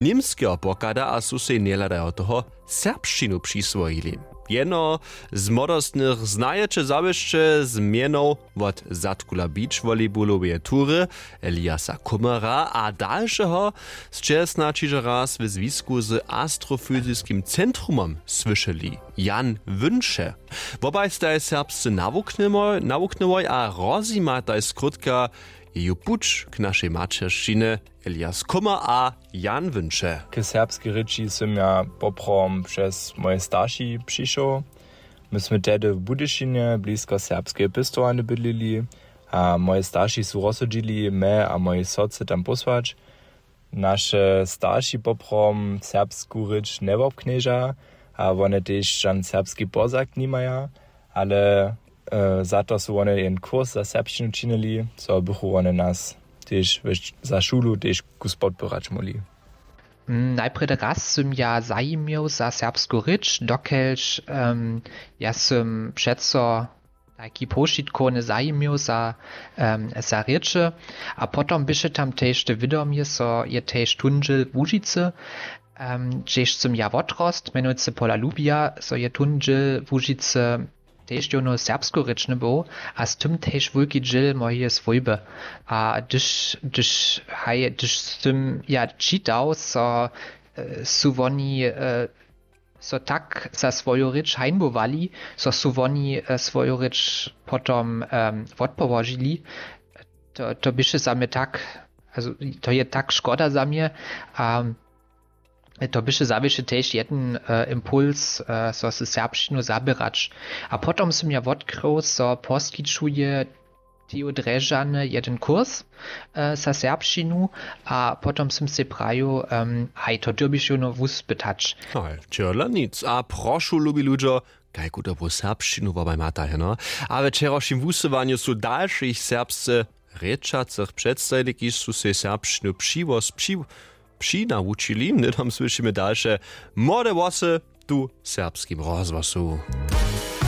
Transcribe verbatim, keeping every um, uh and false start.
Němskeho pochada a su sej njehladajo toho serbšćinu přiswojili. Jeno z młodostnych znajeće zawěsće z mjenow wot zadkula beach volleybuloweje tury, eliasa kummera a dalšeho sće snadź hižo raz w zwisku z astrofyziskim centrumom słyšeli, jan wünše. Wobaj staj serbsce nawuknyłoj a rozjimataj skrótka jeju puć k našej maćeršćinje, elias kummer a jan wünše. K serbskej rěči sym ja poprawom přez moje starši přišoł. My smy tehdy w budyšinje blisko serbskeje pěstowarnje bydlili, a moje starši su rozsudźili mje a mojej sotře tam pósłać. Naše starši poprawom serbsku rěč njewobknježa, a wone tež žan serbski pozak nimaja, ale za to su wone jen kurs za serbšćinu činili, zo bychu wone nas tež za šulu tež kus podpěrać móhli. Najprjedy raz sym ja zajimjow za serbsku rěč, dokelž ja sym přeco tajki powšitkowny zajimjow za za rěče. A potom běše tam tež te wědomje, zo je tež tón dźěl łužicy, hdźež sym ja wotrost, mjenujcy pola lubija, zo je tón dźěl łužicy tež jónu serbskorěčny był, a z tym tež wulki dźěl mojeje swójby. A hdyž hdyž haj hdyž sym ja čitał, zo su woni so tak za swoju rěč hańbowali, zo su woni swoju rěč potom wotpołožili. To běše za mje tak, to je tak škoda za mje. A to běše zawěsće tež jedyn impuls, zo se serbšćinu zaběrać. A potom sym ja wotkrył, zo poskićuje teju drježany jedyn kurs za serbšćinu. A potom sym sej prajił, haj to dyrbiš jónu wuspytać. Haj, tyrla nic a prošu lubi ludźo, kajku dobru serbšćinu wobaj mata heno. A we wčerawšim wusyłanju su dalšich serbsce rěčacych předstajili kiž su sej serbšćinu přiwos přinawučili hnydom słyšimy dalše, młode włosy tu w serbskim rozhłosu.